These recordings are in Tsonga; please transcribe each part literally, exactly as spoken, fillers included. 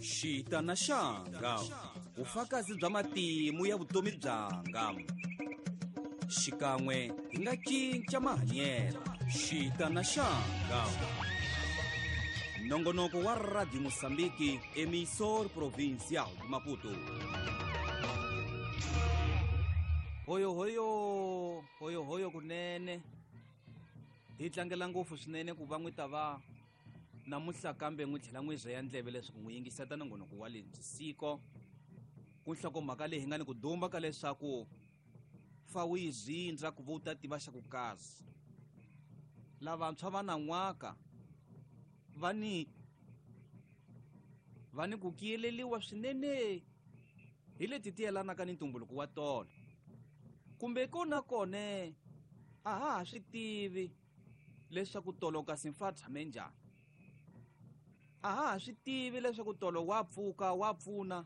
Xitana xanga, vufakazi bya matimu ya vutomi byanga. Xikan'we hi nga cinca mahanyelo. Xitana xanga. Nongonoko wa Radio Mozambique, emissor provincial de Maputo. Hoyo hoyo, hoyo hoyo kunene. Hi tlangela ngopfu swinene ku va n'wi ta va namuntlha kambe n'wi tlhela n'wi rheya ndleve leswaku n'wi yingiseta nongonoko wa lebyi siko. Ku nhlokomhaka leyi hi nga ni ku dumba ka leswaku fa wu yi zindza ku va u ta tiva xa ku kazi. Lavantshwa va nan'waka va ni va ni ku kiyeleliwa swinene hi leti ti yelanaka ni ntumbuluko wa tolo. Kumbe kona kone a ha ha swi tivi leswaku tolo kasi mfa tshame njhani. A ha ha swi tivi leswaku tolo wa pfuka wa pfuna.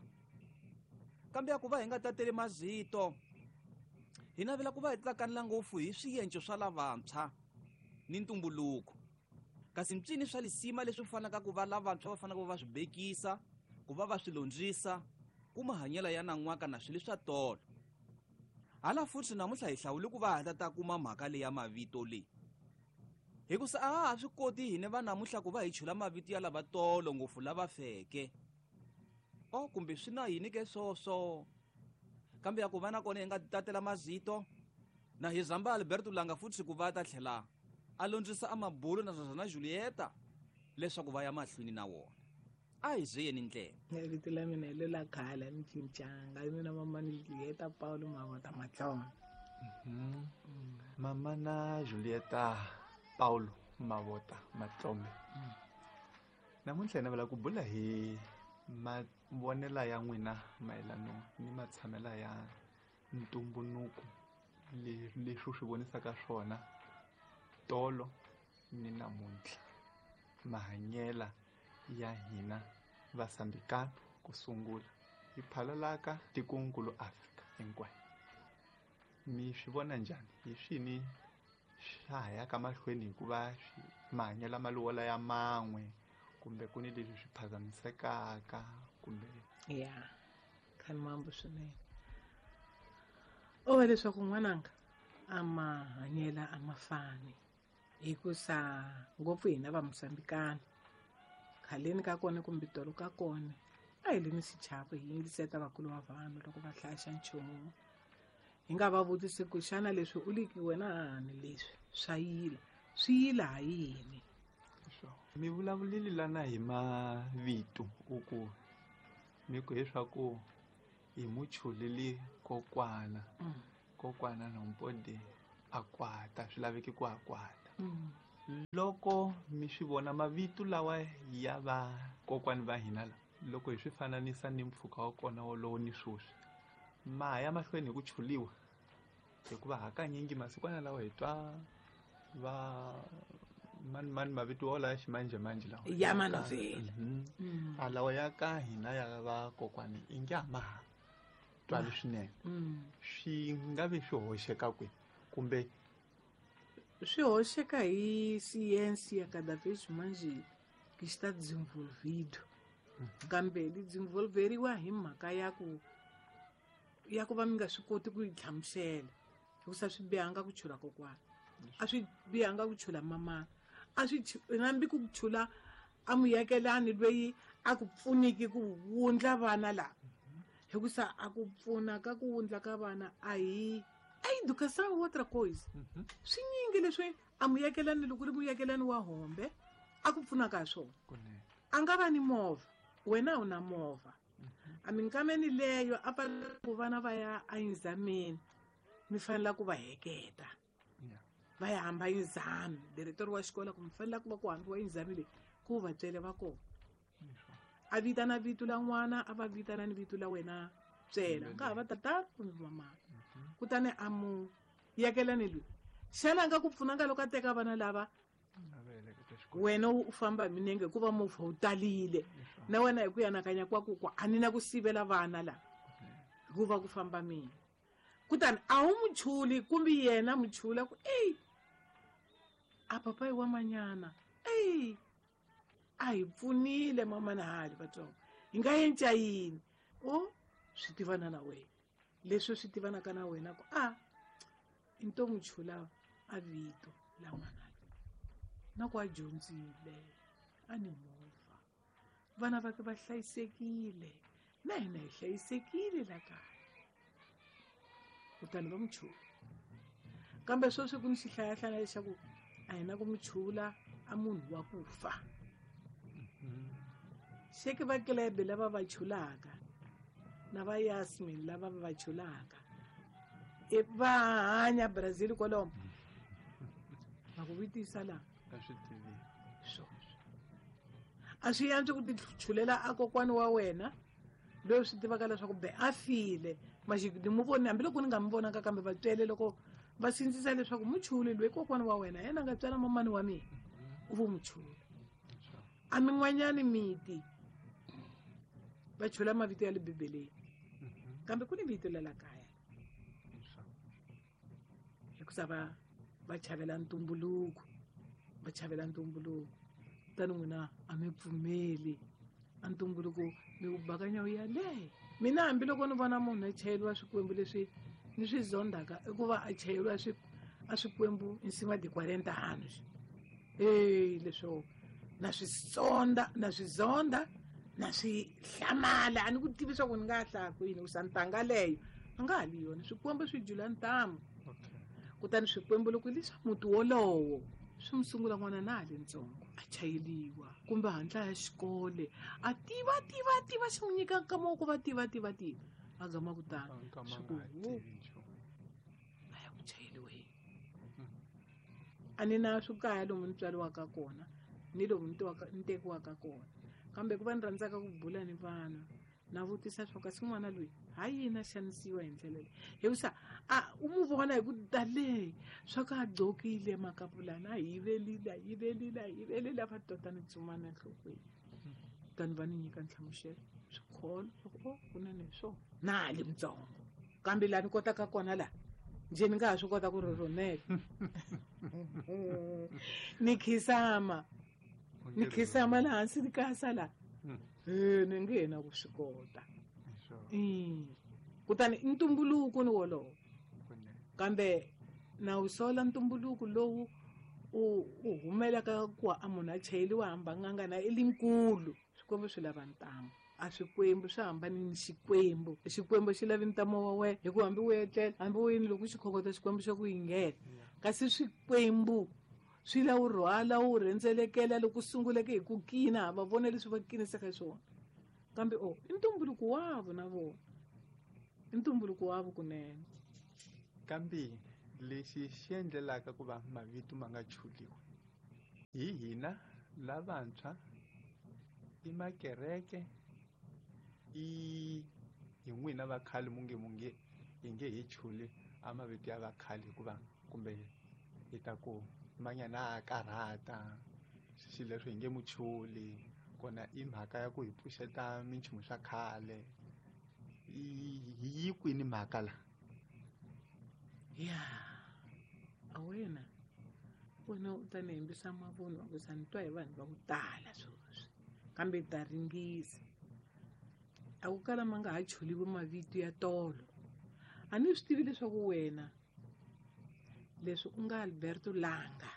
Kambe a ku va hi nga tateli mazito, hi navela ku va hi tlakanela ngopfu hi swienco swa lavantshwa ni ntumbuluko. Kasi mpyini swa lisima leswi fanaka ku va lavantshwa va fanaka ku va swi bekisa, ku va va swi londzisa, ku mahanyelo ya nan'waka na swilo swa tolo. Hala futhi namuntlha hi hlawule ku va hi ta kuma mhaka leyi ya mavito leyi. Hikusa a ha ha swi koti hina va namuntlha ku va hi chula mavito ya lava tolo ngopfu lava feke. O kumbe swi na yini ke swoswo. Kambe ya ku va na kona hi nga tatela mazito na hi zamba Alberto Langa futhi ku va ta tlhela a londzisa a mabulu na Zazana Julieta leswaku va ya mahlweni na wona. A hi ziyeni ndlela. Vito la mina hi lela khale ni cincanga. Mina mama ni Julieta Paulo Mavota Matlona. Mhm. Mama na Julieta Paulo Mavota Matlome. Namuntlha hi navela ku bula hi mavonelo ya n'wina mayelana ni matshamelo ya ntumbuluko leswi swi vonisaka swona tolo ni namuntlha, mahanyela ya hina vasambikana ku sungula hi phalalaka tikonkulu Afrika hinkwayo. Mi swi vona njhani? Hi swini swa ha yaka mahlweni hikuva mahanyelo ma lowola ya man'we kumbe ku ni leswi swi phazamisekaka kumbe ya khani mambo swinene. O va leswaku n'wananga a mahanyela a ma fani hikusa ngopfu hina va Mozambikana khaleni ka kona kumbe tolo ka kona a hi le ni xichavo hi yingiseta vakulu va vanhu loko va hlaya xa nchumu. Hi nga va vutisi ku xana leswi u liki wena hani leswi swa yila swi yila ha yini. Mi vulavulile lana hi mavito u ku mi ku leswaku hi muchuleli kokwana kokwana Nompode a kwata swi laveki ku a kwata. Loko mi swi vona mavito lawa ya va kokwani va hina la loko hi swi fananisa ni mpfhuka wa kona wolowo ni sweswi ma ya mahlweni hi ku chuliwa hikuva hakanyingi masikwana lawa hi twa va mani mani mavito wala ya ximanjhemanjhe lawa ya manovhela a lawa ya ka hina ya va kokwani i nge a ma ha twali swinene. Swi nga vi swi hoxeka kwihi kumbe swi hoxeka hi ciência cada vez mais que está desenvolvido. Kambe li desenvolveriwa hi mhaka ya ku ya ku va mi nga swi koti ku yi hlamusela hikusa swi bihanga ku chula kokwana, a swi bihanga ku chula mama, a swi hambi ku chula a muyakelani loyi a ku pfuniki ku wundla vana lava hikusa a ku pfuna ka ku wundla ka vana a hi a educação outra coisa. Swi nyingi leswi a muyakelani loko ri muyakelani wa hombe a ku pfunaka hi swona. A nga va ni movha, wena a wu na movha. A minkameni leyo a fanele ku vana va ya exameni mi fanele ku va heketa va ya hamba exam diretor wa xikolo ku mi fanele ku va ku hambiwa exam leyi ku va tswele va kona. A vitana vito la n'wana a va vitana ni vito la wena tswela nga ha va tata kumbe mama. Kutani a mu yakelani loyi xana a nga ku pfunanga loko a teka vana lava wena u famba hi minenge hikuva movha wu talile na wena hi ku yanakanya kwaku ku a ni na ku sivela vana lava hikuva ku famba mina. Kutani a wu muchuli kumbe yena muchula ku eyi a papayi wa manyana eyi a hi pfunile mama na hali vatsongo. Hi nga yenca yini? O swi tivana na wena. Leswi swi tivanaka na wena ku a i nto n'wi chula a vito la n'wana loyi. Na ku a dyondzile, a ni movha. Vana va ke va hlayisekile, na hina hi hlayisekile la kaya. Kutani va n'wi chula. Kambe sweswi ku ni xihlayahlaya lexaku a hi na ku n'wi chula a munhu wa ku fa. Xeke va Klebe lava va chulaka na va Yasmin lava va chulaka e va hanya Brazil kwalomo. Va ku vutisa la A swi tivi. Swoswo a swi antswi ku tichulela a kokwana wa wena loyi swi tivaka leswaku be a file maxi ni mu voni hambiloko ni nga mi vonaka kambe vatswele loko va sindzisa leswaku muchuli loyi kokwana wa wena yena a nga tswala mamani wa mina u vo muchula. A min'wanyani miti va chula mavito ya le Bibeleni kambe ku ni vito la la kaya hikusa va va chavela ntumbuluko, va chavela ntumbuluko. Kutani n'wina a mi pfumeli a ntumbuluko mi wu bakanya wu ya le. Mina hambiloko ni vona munhu a chayeriwa swikwembu leswi ni swi zondaka i ku va a chayeriwa swi a swikwembu em cima de quarenta anos. Ei, leswo na swi sonda, na swi zonda, na swi hlamala. A ni ku tivi swa ku ni nga hlaya kwini ku sa ntanga leyo a nga ha li yona. Swikwembu swi jula ntamu. Kutani swikwembu loko leswa muti wolowo swi n'wi sungula n'wana na ha le ntsongo a chayeliwa kumbe hatla ya xikole a tiva tiva tiva xi n'wi nyika nkama wa ku va tiva tiva tiva a gama ku tani swi ku a ya ku chayeliweni. A ni na swikaya lomu ni tswariwaka kona ni lomu ni tiwaka ni tekiwaka kona kambe ku va ni rhandzaka ku bula ni vanhu na vutisa swa kasi n'wana loyi ha yini a xanisiwa hi ndlela leyi hikusa a u mu vona hi ku tale swa ku a gqokile makapulana a yivelile a yivelile a yivelile a va tota ni tsumana enhlokweni. Kutani va ni nyika nhlamuselo swikholo swa ku o kunene hi swona na ha li mutsongo kambe laha ni kotaka kona laha njhe ni nga ha swi kota ku rhurhumela ni khisama ni khisama laha hansi ni kasa laha e ni nge na ku swi kota. Kutani ntumbuluko ni wolowo kambe na wu sola ntumbuluko lowu u u humelaka ku a munhu a chayeliwa hamba n'anga na i linkulu. Swikwembu swi lava ntamu a swikwembu swi hambani ni xikwembu. Xikwembu xi lavi ntamu wa wena hikuva hambi u etlela hambi u yini loko xi khongota xikwembu xa ku yingela kasi swikwembu swi la wu rhwala wu rhendzelekela loko sunguleke hi ku kina va vona leswi va kinisaka swona kambe o i ntumbuluko wavo na vona i ntumbuluko wavo kunene. Kambe lexi xi endlelaka ku va mavito ma nga chuliwi hi hina lavantshwa i makereke i hi n'wina va khale munge munge hi nge hi chuli a mavito ya vakhale hikuva kumbe hi ta ku manyana a karhata xilo leswi hi nge muchuli kona i mhaka ya ku hi pfuxeta minchumu swa khale yi kwini mhaka la ya a wena wena u ta ni hembisa mavunwa ku sa ni twa hi vanhu va ku tala sweswi kambe ta ringisa a ku kala ma nga ha chuliwi mavito ya tolo. A ni swi tivi leswaku wena leswi u nga Alberto Langa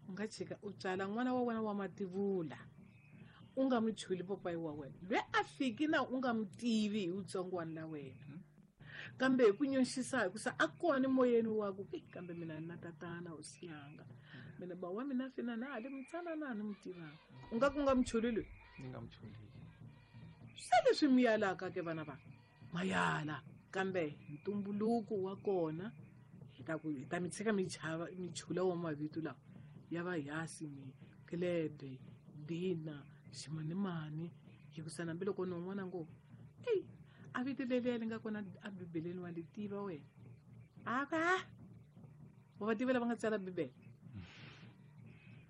u nga chika u tswala n'wana wa wena wa mativula u nga mu chuli papayi wa wena loyi a fiki na u nga mu tivi hi wutsongwana la wena kambe hi ku nyoxisa hikusa a kona moyeni wa ku kambe mina na tatana u siyanga mina ba wa mina fina na ha le mutsanana a ni mu tivanga u nga ku nga mu chuli loyi ni nga mu chuli se leswi mi yalaka ke vana va mayala kambe ntumbuluko wa kona hi ta ku hi ta mi tshika mi chava mi chula wa mavito lawa ya va Yasmin Klebe Dina ximanimani hikusa hambiloko ni un'wana ngo eyi a vito leliya li nga kona a Bibeleni wa li tiva wena a ka wa va tiva lava nga tsala Bibele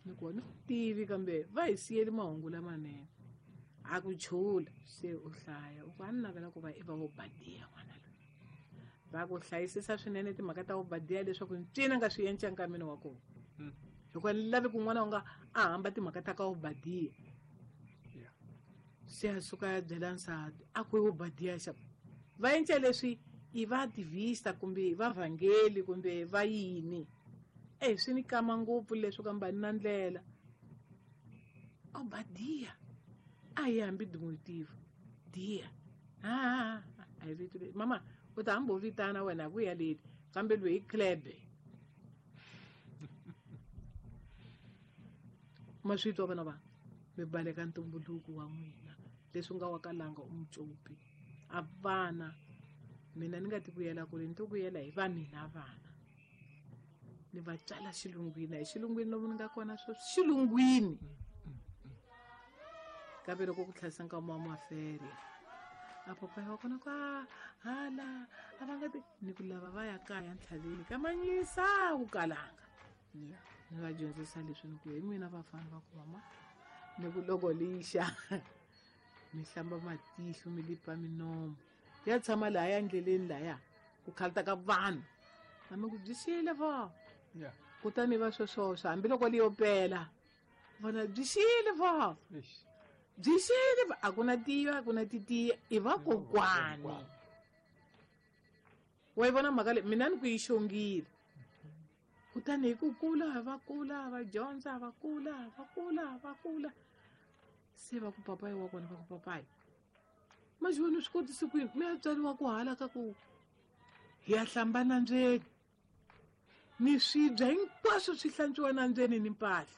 ni ku ni tivi kambe va hi siyeli mahungu lamanene a ku chula se u hlaya u ku a ni navela ku va i va Obadiya n'wana loyi va ku hlayisisa swinene timhaka ta Obadiya leswaku ncini a nga swi endla nkameni wa kona hikuva ni lavi ku n'wana u nga a hamba timhaka ta ka Obadiya. Se a suka ya byela nsati a ku Obadiya xa va endla leswi i va activista kumbe va vhangeli kumbe va yini. Eh swi ni kama ngopfu leswi kambe ni na ndlela. Obadiya a yi hambi diminutive dia ah a yi vito le mama u ta hamba u vitana wena ku ya leti kambe loyi i klebe ma swi twa vana va mi baleka ntumbuluko wa n'wina leswi nga wa kalanga u mucopi a vana mina ni nga ti vuyela kule ni to vuyela hi va mina vana ni va tswala xilungwini hi xilungwini lomu ni nga kona sweswi xilungwini kambe loko ku tlhayisa nkama wa maferia a papayi wa kona ku a hala a va nga ti ni ku lava va ya kaya ntlhaveni ka manyisa ku kalanga ni va dyondzisa leswi ni ku hi n'wina vafana va ku mama ni ku loko lixa mi hlamba matihlo mi lipa minomo ya tshama lahaya endleleni laya ku khalita ka vanhu a mi ku byi xile vo kutani va sweswoswo hambiloko li yo pela vona byi xile vo byi xile a ku na tiya a ku na titiya i vakokwani wa yi vona mhaka leyi mina ni ku yi xongile kutani hi ku kula va kula va dyondza va kula va kula va kula se va ku papayi wa kona va ku papayi manjhe wena u swi kotisi kwini mi ya tswariwa ku hala ka ku hi ya hlamba nambyeni ni swibya hinkwaswo swi hlantswiwa nambyeni ni mpahla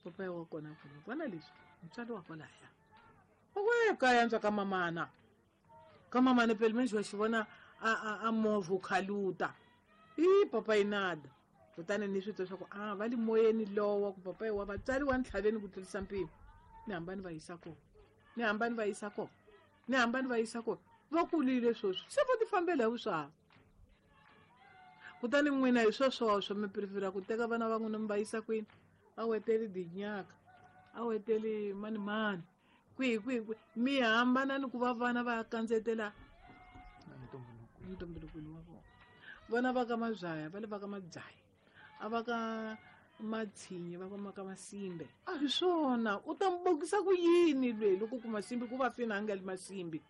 papayi wa kona ku vona leswi mutswari wa kwalaya we kaya ntswa ka mamana ka mamana phela manjhe wa xi vona a a a movha u khaluta i papayi nada kutani ni swi twa swa ku a va le moyeni lowa ku papayi wa vatswari wa ntlhaveni ku tlurisa mpimo ni hamba ni va yisa kona ni hamba ni va yisa kona ni hamba ni va yisa kona va kulile sweswi se vo ti fambela hi vuswava kutani n'wina hi sweswoswo mi prefera ku teka vana va n'wina mi va yisa kwini a weteli dinyaka a weteli mani mani kwihi kwihi kwihi mi hambana ni ku va vana va ya kandzetela ntumbulukweni wa vona vana va ka Mabyaya va le va ka Mabyaya a va ka Matshinyi va ka ka Masimbe a hi swona u ta mi bokisa ku yini lweyi loko ku Masimbe ku va fina a nga li Masimbe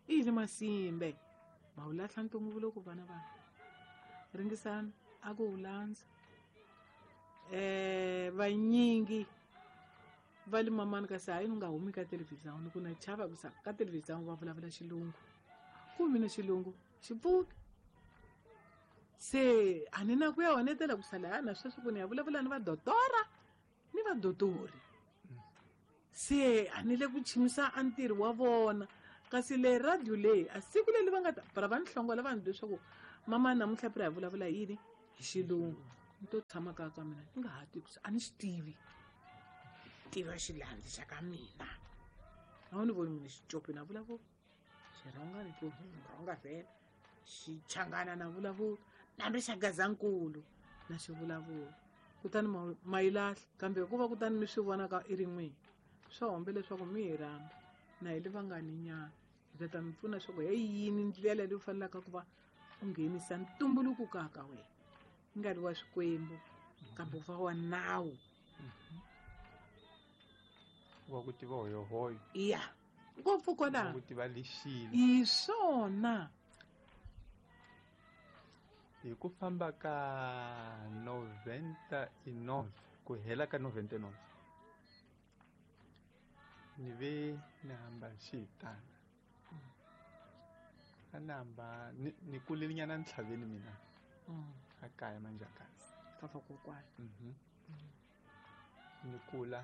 i yini Masimbe ma wu lahla ntumbuluko vana va ringisana a ku wu landza eh vanyingi va le mamani kasi hayi ni nga humi ka televhizani ku na chava ku sa ka televhizani va vulavula xilungu ku mina xilungu xi pfuki se a ni na ku ya honetela ku sala na sweswi ku ni ya vulavula ni vadotora ni vadotori se a ni le ku chimisa a ntirho wa vona kasi le radio leyi a siku leri va nga ta para va ni hlongola vanhu leswaku mama namuntlha phela hi vulavula yini hi xilungu ni to tshama kaya ka mina ni nga ha tivi ku a ni xi tivi tiva xilandzi xa ka mina a wu ni voni mina xicopi na vulavula xirhonga ni to rhonga vhela xichangana na vulavula nambi xa Gazankulu na xi vulavula kutani ma yi lahla kambe hikuva kutani mi swi vona ka i rin'wini swa hombe leswaku mi hi rhamba na hi le vangani nyana hi ta ta mi pfuna leswaku hi yini ndlela leyi u fanelaka ku va u nghenisa ntumbuluko kaya ka wena yi nga ri wa swikwembu kambe u va wa nawu wa ku tiva hoyohoyo ya ngopfu kwalaho ku tiva lexile hi swona hi ku famba ka noventa e nove ku hela ka noventa e nove ni ve ni hamba xihitana a ni hamba ni ni kulele nyana ntlhaveni mina a kaya Manjakazi ka vakokwana ni kula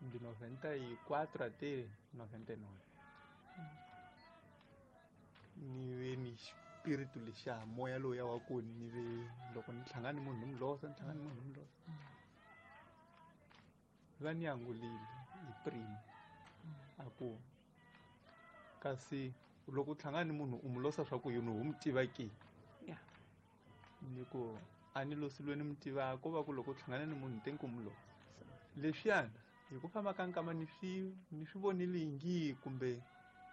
de noventa e quatro até noventa e nove ni ve ni xipiritu lexiya moya lowuya wa ku ni ve loko ni hlangana ni munhu ni mu losa ni hlangana ni munhu ni mu losa va ni angulile hi primo a ku kasi loko u hlangana ni munhu u mu losa swa ku yini u mu tiva ke ni ku a ni losi loyi ni mu tivaka ko va ku loko u hlangana ni munhu te ku mu losa leswiyana hi ku famba ka nkama ni swi ni swi vonile ingi kumbe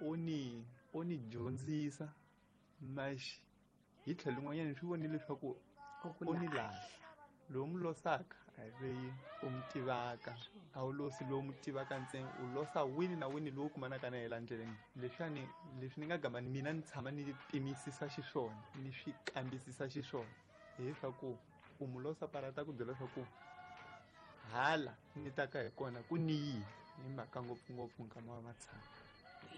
o ni o ni dyondzisa maxi hi tlhelo rin'wanyana ni swi vonile leswaku o ni lahla lowu mu losaka A hi loyi u mi tivaka, a wu losi lowu mu tivaka ntsena, u losa wini na wini lowu kumanaka na yena endleleni. Leswiwani leswi ni nga gama mina ni tshama ni pimisisa xiswona, ni swi kambisisa xiswona, hileswaku u mu losa parata ku byela leswaku hala ni taka hi kona ku ni yini, hi mhaka ngopfungopfu nkama wa matshama.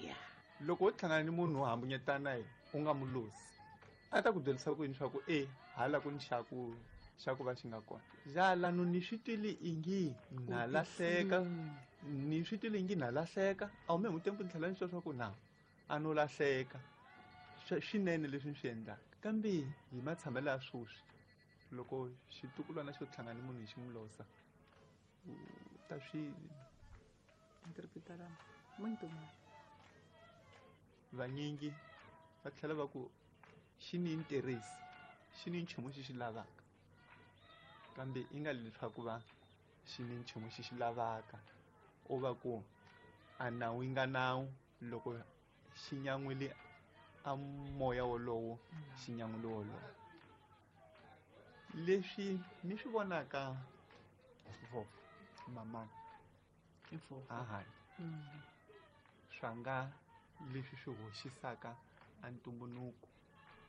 Yeah. Loko wo hlangana ni munhu wo hambunyetana yena u nga mu losi, a ta ku byerisa ku yini swa ku e hala ku ni xa ku xa ku va xi nga kona. Jalano ni swi twile ingi na lahleka, ni swi twile ingi na lahleka, a wu me mutempu ni tlhela ni twa swa ku na a no lahleka. Swinene leswi ni swi endlaka. Kambe hi matshamelo ya sweswi, loko xitukulwana xo hlangana ni munhu hi xi n'wi losa, u ta swi interpretar muito mal. Vanyingi va tlhela va ku xi ni interest, xi ni nchumu xi xi lavaka, kambe i nga leswaku va xi ni nchumu xi xi lavaka, u va ku a nawu yi nga nawu, loko xi nyan'wile a moya wolowo, xi nyan'wile wolowo. Leswi ni swi vonaka vovho mamani I vovho. Ahani. Mm. Swa nga leswi swi hoxisaka a ntumbuluko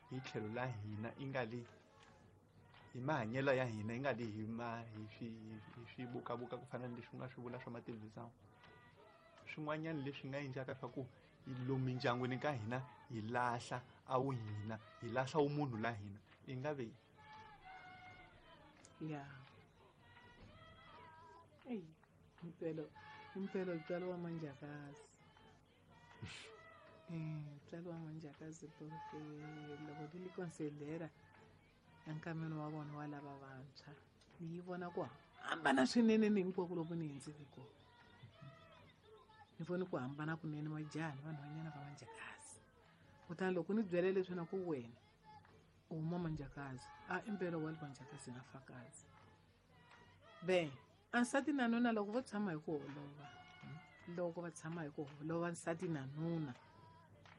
hi tlhelo la hina, i nga le hi mahanyelo ya hina, i nga le hi ma, hi swi, hi swi bukabuka ku fana na leswi u nga swi vula swa matelevisão. Swin'wanyana leswi nga endlaka swa ku lomu mindyangwini ka hina hi lahla a wu hina, hi lahla wu munhu la hina, i nga ve. Yeah. Ey, impela, impela ntswalo wa manjakazi. Eh, ntswalo wa manjakazi porque loko ti li considera enkameni wa vona wa lava vantshwa, ni yi vona ku hambana swinene ni hinkwako loko ni hundzile kona. Ni vone ku hambana kunene majaha ni vanhwanyana va manjakazi. Kutani loko ni byele leswi na ku wena u huma manjakazi, a impela wa manjakazi na fakazi. Be, a nsati na nuna loko vo tshama hi ku holova, loko va tshama hi ku holova nsati na nuna,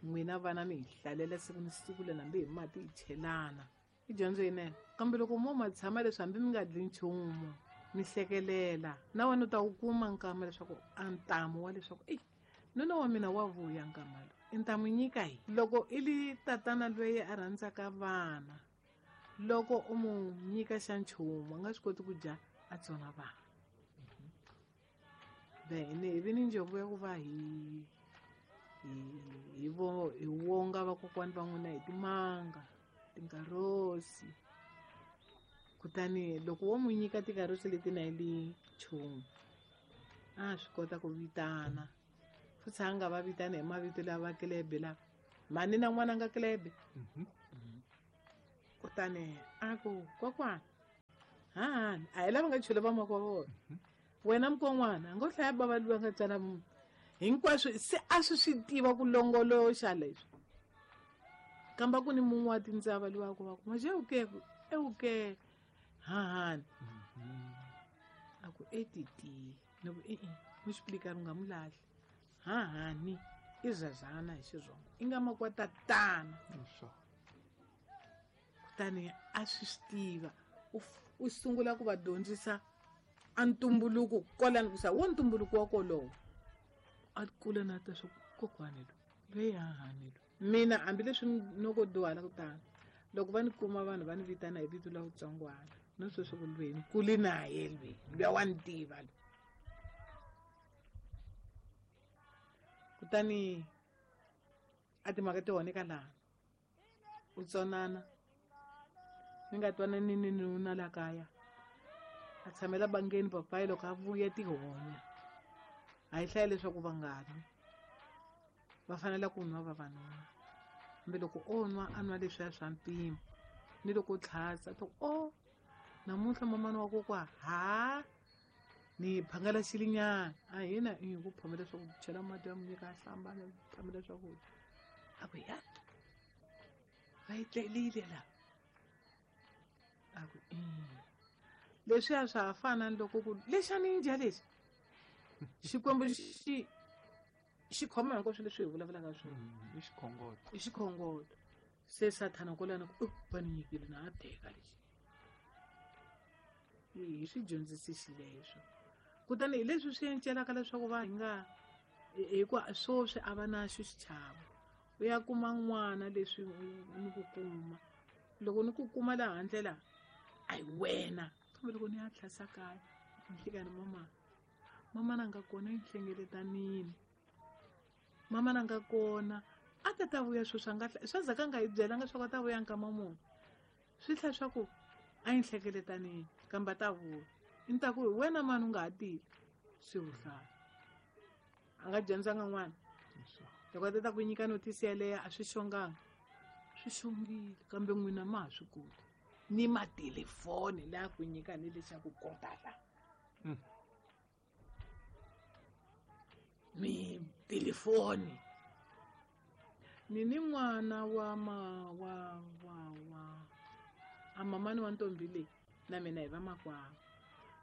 n'wina vana mi hi hlalela siku ni siku le hambi hi mati hi chelana, i dyondzo yinene. Kambe loko mo ma tshama leswi hambi mi nga dli nchumu, mi hlekelela, na wena u ta wu kuma nkama leswaku a ntamu wa leswaku eyi nuna wa mina wa vuya nkama lowu, i ta n'wi nyika hi. Loko i li tatana loyi a rhandzaka vana, loko u mu nyika xa nchumu a nga swi koti ku dya a tsona vana. Then hi vi ni njombo ya ku va hi, hi, hi vo, hi wonga vakokwani va n'wina hi timanga, tinkarosi. Kutani loko wo n'wi nyika tinkarosi leti na li nchumu, a swi kota ku vitana. Futhi a nga va vitani hi mavito lawa kelebe lava. Mhani na n'wana nga kelebe. Mhm. Kutani a ku, kokwana, hahani, a hi lava nga chule va makwa vona. Wena mukon'wana, a ngo hlaya bava loyi a nga tsala munhu. Hinkwaswo se a swi swi tiva ku longoloxa leswi. Kambe ku ni mun'we wa tindzava loyi a ku va ku, Maje u ke, e u ke, hahani. A ku, e titi. Ni ku, e-e, mu explicar u nga mu lahli. Hahani, i zazana hi Xitsonga. I nga makwa tatana. Sure. Kutani a swi swi tiva. U f-, u sungula ku va dyondzisa a ntumbuluko kwalani ku sa wo ntumbuluko wa kolowo. A kula na ta swa kokwani loyi, loyi hahani loyi. Mina hambileswi noko dyuhala ku tani, loko va ni kuma vanhu va ni vitana hi vito la vutsongwana, no sweswi ku loyi ni kule na ye loyi, luya wa ni tiva loyi. Kutani a timhaka ti honeka laha, u tsonana, mi nga twanani ni nuna la kaya, a tshamela bangeni papayi loko a vuya tihonya. A hi hlaya leswaku va nga nwi, va fanele ku nwa vavanuna. Kambe loko o nwa, a nwa leswiya swa mpimo, ni loko o tlhatsa, ta ku, o, namuntlha mamani wa kokwa, ha, ni phangela xilinyana. A hina i ku phamela swakudya, chela mati ya munyika a hlamba, ni phamela swakudya. A ku, ya, va yi tlelile la. A ku, e. Leswiya swa ha fana ni loko ku, lexi a ni dya lexi. Xikwembu xi, xi khoma hinkwaswo leswi hi vulavulaka swona. Mm, i xikhongolo. I xikhongolo. Se Sathana kwalano ku, va ni nyikile na a teka lexi. Hi swi dyondzisi xileswo. Kutani hi leswi swi encelaka leswaku va hi nga hikuva sweswi a va na xo xichavo. U ya kuma n'wana leswi ni ku kuma. Loko ni ku kuma laha handle la, a hi wena. Kambe loko ni ya tlhasa kaya, ni fika ni mama, mama na nga kona enhlengeletanini. Mama na nga kona a ta ta vuya sweswi a nga swa ndzhaku a nga hi byelanga swa ku a ta vuya nkama muni. Swi tlhela swa ku a yi nhlengeletanini kambe a ta vuya. Ni ta ku hi wena mani u nga ha tili swi vuhlala. A nga dyondzanga n'wana. Loko a ta ta ku nyika notice yeleyo a swi xonganga. Swi xongile kambe n'wina ma ha swi koti. Ni matelefoni laha ku nyika ni lexaku kota la. Mi telefoni. Ni ni n'wana wa ma wa wa wa a mamani wa ntombi leyi na mina hi vamakwavo.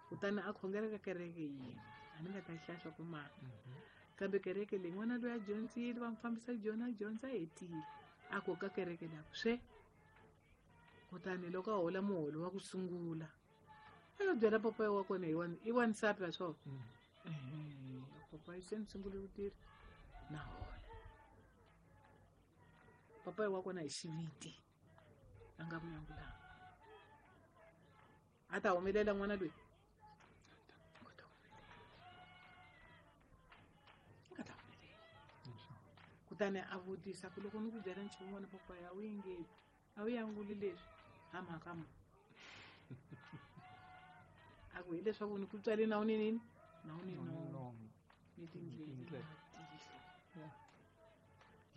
Kutani a khongela ka kereke yin'we. A ni nga ta hlaya swa ku mani. Kambe kereke leyi n'wana loyi a dyondzile va n'wi fambisa dyona a dyondza a hetile. A ku ka kereke leyi a ku swe. Kutani loko a hola muholo wa ku sungula a yo byela papayi wa kona hi wa i wansati wa swona. Papayi se ni sungule ku tirha na hola. Papayi wa kona hi xiviti a nga vuyangulanga. A ta humelela n'wana loyi. A nga ta humelela. A nga ta humelela. Kutani a vutisa ku loko ni ku byela nchumu n'wana papayi a wu yingeti. A wu yanguli leswi ha mhaka ma. A ku hileswaku ni ku tswale na wu ni nini? Na wu ni nomo. Ni tindleve na tihlo.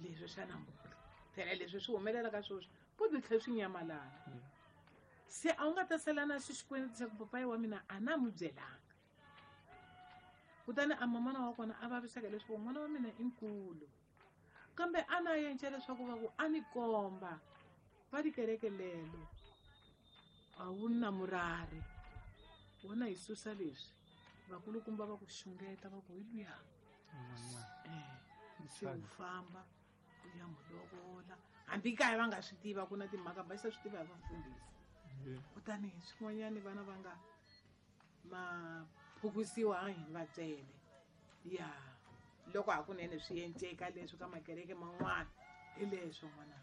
Leswi swa namuntlha. Phela leswi swi humelela ka sweswi po byi tlhela swi nyamalala. Se a wu nga ta sala na xo xikweleti xa ku papayi wa mina a na n'wi byelanga. Kutani a mamana wa kona a vaviseka leswaku n'wana wa mina i nkulu. Kambe a na yenca leswaku va ku a ni komba va tikereke lelo a wu na murari. Wona hi susa leswi vakulukumba va ku xungeta va ku hi luya. Eh, se u famba u ya n'wi lovola. Hambi kaya va nga swi tiva ku na timhaka ba se swi tiva hi vafundhisi. Kutani swin'wanyani vana va nga ma phukusiwa a hi va tsele. Ya loko hakunene swi enceka leswi ka makereke man'wana hi leswo n'wana.